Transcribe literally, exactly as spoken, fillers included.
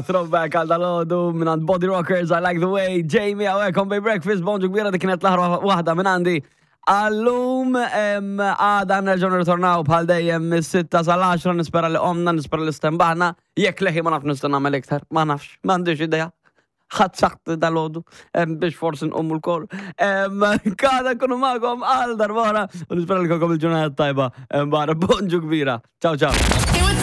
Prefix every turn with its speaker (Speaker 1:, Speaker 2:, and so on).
Speaker 1: Throwback għal dalgħodu minn Body Rockers, I Like the Way, Jamie hawnhekk on Bay Breakfast, bonġu kbira, dik kienet l-aħħar waħda minn għandi. Għal-lum, għada nerġgħu nirritornaw bħal dejjem mis-sitta sal-għaxra, nispera li qomna, nispera li stenbaħna, jekk leħi ma nafx nista' nagħmel iktar, ma nafx, m'għandix idea. Ħadd saħt dalgħodu biex forsi nqumu lkoll. Għada nkunu magħkom għal darb'oħra u nispera li jkollkom il-ġurnata tajba. Barra, bonġu kbira. Ciao, ciao.
Speaker 2: Hey, what's